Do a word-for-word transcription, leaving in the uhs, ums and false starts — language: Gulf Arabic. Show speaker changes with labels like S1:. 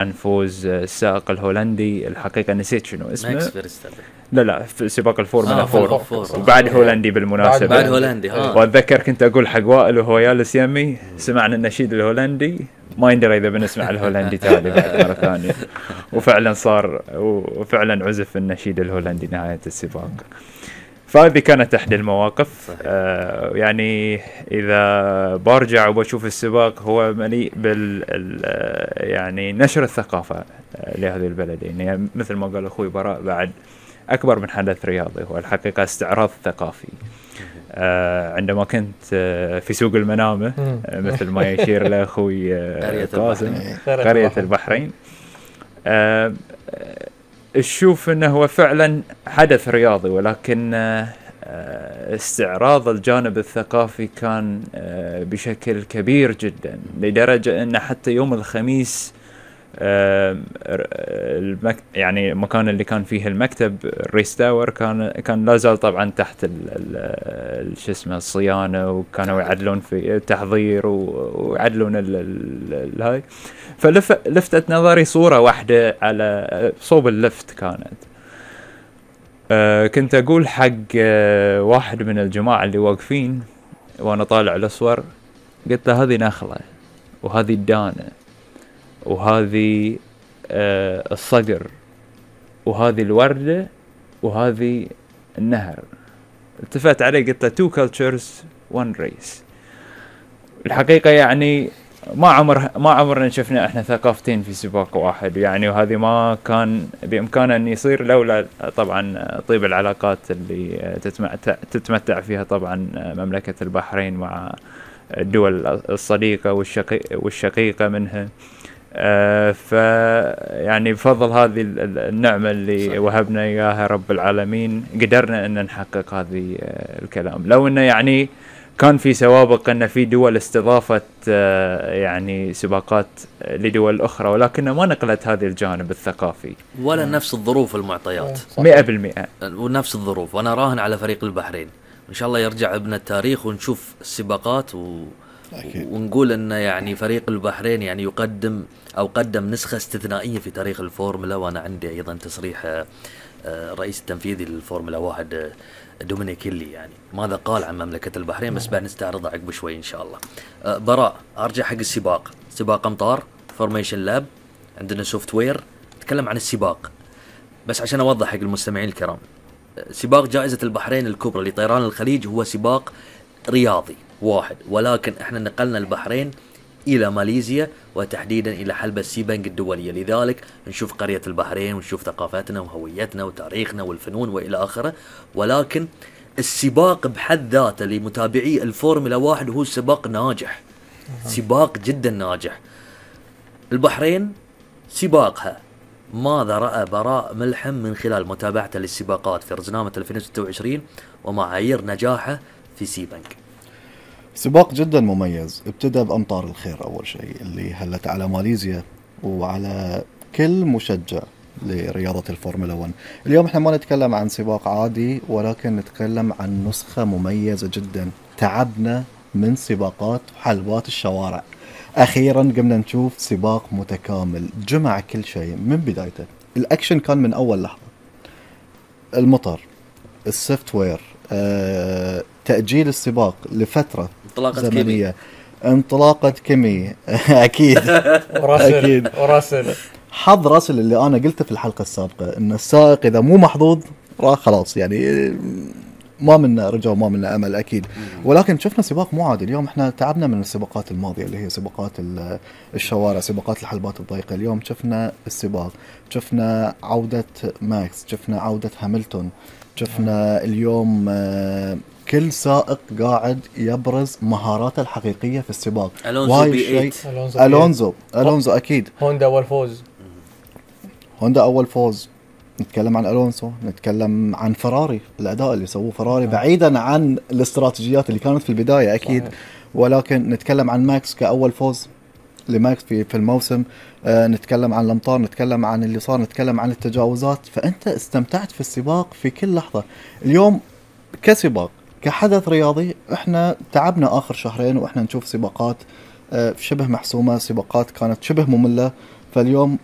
S1: عن فوز السائق الهولندي، الحقيقة نسيت شنو اسمه.
S2: ماكس فيرستابن.
S1: لا لا في سباق الفورمولا
S2: آه
S1: فور،
S2: فور.
S1: وبعد هولندي بالمناسبة.
S2: بعد هولندي ها.
S1: وأتذكر كنت أقول حق وائل وهو جالس يمي سمعنا النشيد الهولندي، ما يندري إذا بنسمع الهولندي تالي بعد مرة ثانية، وفعلا صار وفعلا عزف النشيد الهولندي نهاية السباق. فهذه كانت إحدى المواقف. آه يعني إذا برجع وبشوف السباق هو مليء بال يعني نشر الثقافة لهذه البلدين، يعني مثل ما قال أخوي براء بعد أكبر من حدث رياضي هو الحقيقة استعراض ثقافي. آه عندما كنت آه في سوق المنامة آه مثل ما يشير لأخوي آه قاسم قرية البحرين، آه تشوف انه هو فعلا حدث رياضي، ولكن استعراض الجانب الثقافي كان بشكل كبير جدا، لدرجة ان حتى يوم الخميس يعني المكان اللي كان فيه المكتب الريستاور كان كان لا زال طبعا تحت شو اسمه الصيانة، وكانوا يعدلون في التحضير ويعدلون الهاي. فلفتت نظري صورة واحدة على صوب اللفت كانت، أه كنت أقول حق أه واحد من الجماعة اللي واقفين وأنا طالع الأصور، قلت له هذه نخلة وهذه الدانة وهذه أه الصقر وهذه الوردة وهذه النهر. التفت عليه قلت له two cultures one race. الحقيقة يعني ما عمر ما عمرنا شفنا احنا ثقافتين في سباق واحد يعني، وهذه ما كان بامكانه ان يصير لولا طبعا طيب العلاقات اللي تتمتع تتمتع فيها طبعا مملكه البحرين مع الدول الصديقه والشقيقه والشقيقه منها. آه ف يعني بفضل هذه النعمه اللي صحيح. وهبنا اياها رب العالمين قدرنا ان نحقق هذه الكلام. لو انه يعني كان في سوابق أن في دول استضافت يعني سباقات لدول أخرى، ولكن ما نقلت هذه الجانب الثقافي
S2: ولا نفس الظروف المعطيات
S1: مئة بالمئة
S2: ونفس الظروف. وأنا راهن على فريق البحرين إن شاء الله يرجع ابن التاريخ ونشوف السباقات و... ونقول أن يعني فريق البحرين يعني يقدم أو قدم نسخة استثنائية في تاريخ الفورمولا. وأنا عندي أيضا تصريح رئيس التنفيذي للفورمولا واحد دومينيك هيلي يعني ماذا قال عن مملكة البحرين، بس بعد نستعرضها عقب شوي إن شاء الله. أه براء أرجع حق السباق، سباق أمطار فورميشن لاب، عندنا سوفت وير نتكلم عن السباق. بس عشان أوضح حق المستمعين الكرام، سباق جائزة البحرين الكبرى لطيران الخليج هو سباق رياضي واحد، ولكن احنا نقلنا البحرين إلى ماليزيا وتحديدا إلى حلبة سيبنج الدولية، لذلك نشوف قرية البحرين ونشوف ثقافتنا وهويتنا وتاريخنا والفنون وإلى آخره. ولكن السباق بحد ذاته لمتابعي الفورمولا واحد هو سباق ناجح، سباق جدا ناجح. البحرين سباقها ماذا رأى براء ملحم من خلال متابعته للسباقات في رزنامة ألفين وستة وعشرين ومعايير نجاحه في سيبنج؟
S3: سباق جدا مميز، ابتدأ بأمطار الخير أول شيء اللي هلت على ماليزيا وعلى كل مشجع لرياضة الفورمولا واحد. اليوم احنا ما نتكلم عن سباق عادي، ولكن نتكلم عن نسخة مميزة جدا. تعبنا من سباقات حلبات الشوارع، أخيرا قمنا نشوف سباق متكامل جمع كل شيء من بدايته. الأكشن كان من أول لحظة، المطر، السوفت وير، أه، تأجيل السباق لفترة
S2: انطلاقة
S3: زمنية، كيمي. انطلاقة كيمي أكيد
S4: أكيد وراسل
S3: حظ راسل اللي أنا قلته في الحلقة السابقة إن السائق إذا مو محظوظ راح خلاص، يعني ما منا رجع وما منا أمل أكيد. ولكن شفنا سباق مو عادي اليوم. إحنا تعبنا من السباقات الماضية اللي هي سباقات الشوارع، سباقات الحلبات الضيقة. اليوم شفنا السباق، شفنا عودة ماكس، شفنا عودة هاملتون، شفنا اليوم كل سائق قاعد يبرز مهاراته الحقيقية في السباق.
S2: ألونزو بي
S3: ثمانية ألونزو ألونزو أكيد.
S4: هوندا أول فوز
S3: هوندا أول فوز. نتكلم عن ألونسو، نتكلم عن فراري، الأداء اللي سووه فراري بعيدا عن الاستراتيجيات اللي كانت في البداية أكيد صحيح. ولكن نتكلم عن ماكس كأول فوز لماكس في في الموسم. آه نتكلم عن الأمطار، نتكلم عن اللي صار، نتكلم عن التجاوزات. فأنت استمتعت في السباق في كل لحظة. اليوم كسباق كحدث رياضي احنا تعبنا آخر شهرين وإحنا نشوف سباقات آه شبه محسومة، سباقات كانت شبه مملة. فاليوم